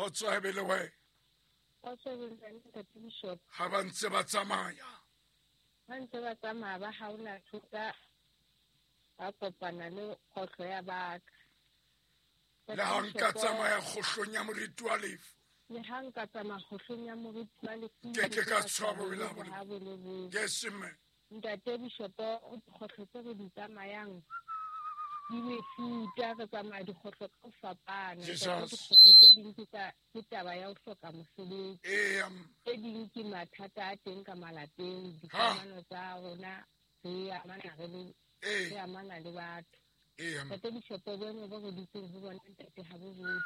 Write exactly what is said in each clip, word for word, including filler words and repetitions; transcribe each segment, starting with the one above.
Kgotso e be le wena. Kgotso e be le wena, Ntate Bishop. Ha ba ntse ba tsamaya. Ba ntse ba tsamaya ba haola thota, ba kopana le kgohlo ya baka. Le ha nka tsamaya kgohlong ya moriti wa lefu. Le ha nka tsamaya kgohlong ya moriti wa lefu. Ke ke ka tshaba bo le ha bo le bo. Yes, mme. Ntate Bishop, o dikgohlo tse re di tsamayang di mefuta, re tsamaya dikgohlo ka ho fapana. Dikgohlo tse ding ke tsa ke taba ya ho hloka mosebetsi. Tse ding ke mathata a teng ka malapeng, dikamano tsa rona re amana re le re amana le batho. Ntate Bishop, boemo bo re dutseng ho bona ntate ha bo botle.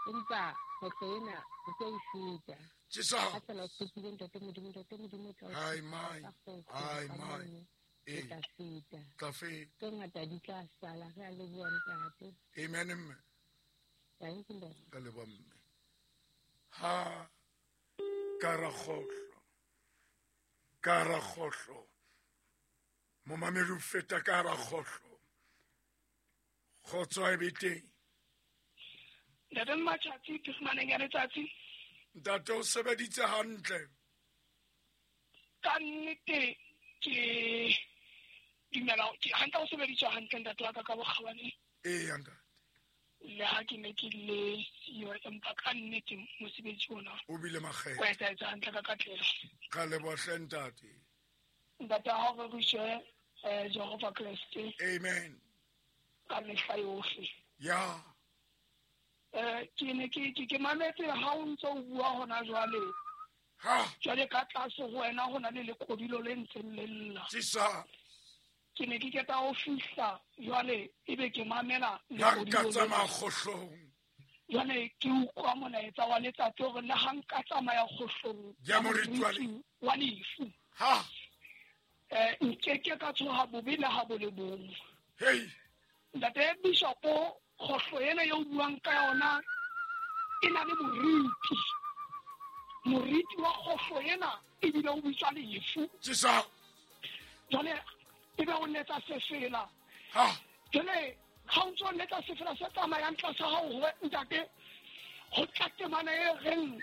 Empa kgohlo ena re tlo e feta. Jesus. Ha fela o tshepile ntate Modimo, ntate Modimo o tla o Ai mai, ai mai. E tla feta. Tla feta. Tse ngata di tla sala, re a leboha ntate. Amen, mme. Thank you, ntate. Ka leboha, mme. Ha ka ra kgohlo. Ka ra kgohlo. Momamedi o feta ka ra kgohlo. Kgotso e be teng. Ntate Mmatšhatsi, ke fumaneng ya letsatsi. Ntate o sebeditse hantle. Ka nnete ke dumela ke hantle o sebeditse hantle ntate wa ka ka bokgabane. Ee, ntate. Le ha ke ne ke le yo, empa ka nnete mosebetsi ona o bile makgethe. O etsahetse hantle ka katleho. Ka leboha hle ntate. Ntate ha o re eh Jehova Kreste. Amen. Ka mehla yohle. Ya. Eh ke ne ke ke mametse ha o ntse o bua hona jwale. Ha. Jwale ka tlase ho wena ho na le lekodilo le ntseng le lla. Tisa. Ke ne ke keta ho fihla jwale ebe ke mamela lekodilo. La nka tsamaya kgohlong. Jwale ke utlwa molaetsa wa letsatsi hore le ha nka tsamaya kgohlong ya moriti wa lefu. Ha. Eh nke ke ka tshoha bobe le ha bo le bong. Hey. Ntate Bishop, kgohlo ena eo buang ka yona e na le moriti. Moriti wa kgohlo ena ebile o bitswa lefu. Tisa. Jwale ebe o letsa sefela. Ha. Jwale ha o ntso letsa sefela se tsamayang tlasa hao ho ntate, ho tla temana e reng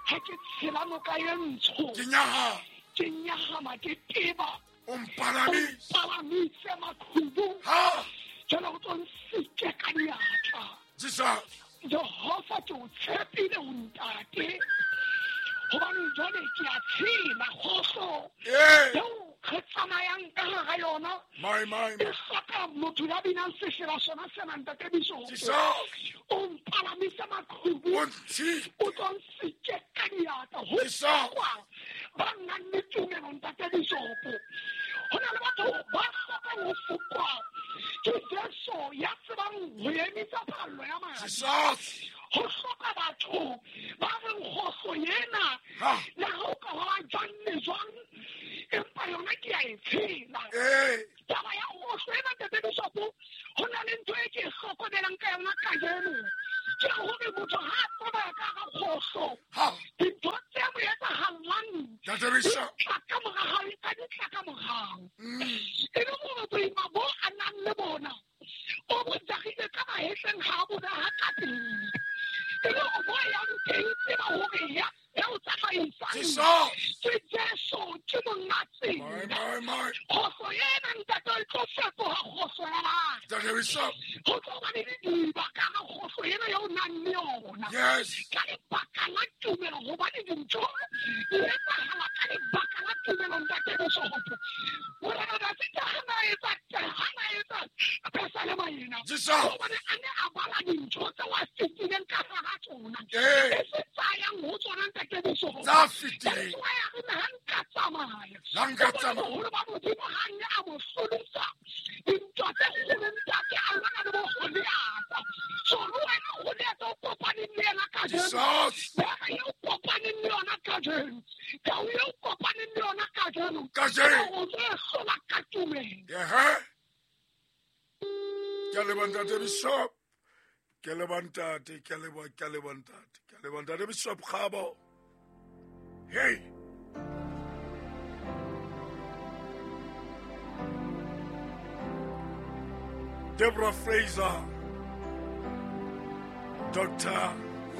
ha ke tshela noka e ntsho. Ke nyaha. Ke nyahama ke teba. O mpalamise. O mpalamise maqhubu. Ha. Jwale o tlo nsike ka diatla. Jesus. Jehova ke o tshepile o ntate. Hobane jwale ke a tshela kgohlo. Ee. Eo re tsamayang ka hara yona. My, my, E hloka motho ya binang sefela sona sena ntate Bishop. Jesus. O mpalamise maqhubu. O ntshike. O tlo nsike ka diatla. Ho Jesus. hlokwa ba nang le tumelo ntate Bishop. Ho na le batho ba hlokang ho fokwa ke Jesu ya tsebang ho emisa phallo ya madi. Jesus. Ho hloka batho ba reng kgohlo ena Ha. le ha o ka ba jwang le jwang, empa yona ke a e tshela. Ee. Taba ya kgohlo ena ntate Bishop, ho na le ntho e ke e hlokomelang ka yona kajeno. Ke hore motho ha a tsamaya ka hara kgohlo, Ha. dintho tse mo etsahallang Ntate Bishop. di tla ka mora hao, ka di tla ka morao. Mm. E le hore boima bo a nang le bona, o bo jagile ka mahetleng ha a bo beha ka pele. E le hore bo yang teng tseba hore ya, ya o tsamaisang. Jesus. Ke Jesu, ke monga tsela. My, my, my. Kgohlo ena ntate e tlo fetoha kgohlo ya batho. Ntate Bishop. Ho tlo ba le didiba ka hara kgohlo ena eo o nang le yona. Yes. Ka lebaka la tumelo, hobane dintho di etsahala ka lebaka la tumelo ntate Bishop. Morena Dafita ha na etsa, ha na etsa pesalema ena. Jesus. Hobane a ne a bala dintho tseo a fetileng ka hara tsona. Ee. E se tsayang ho tsona ntate Bishop. Tsa fetileng. That's why a re ha nka tsamaya. La nka Hobane tsamaya. boholo ba Modimo ha nne a mo hlodisa. Dintwa tse kgolo ntate a lwana le bo Goliatha. So le wena Goliatha o kopaneng le yena kajeno. Jesus. Bera eo kopaneng le yona kajeno. Tau eo kopaneng le yona kajeno. Kajeno. O tlo e hlola ka tumelo. Ehe. Ke a leboha ntate Bishop. Ke a leboha ntate, ke a leboha, ke a leboha ntate. Ke a leboha ntate Bishop Kgabo. Hey. Deborah Fraser, Doctor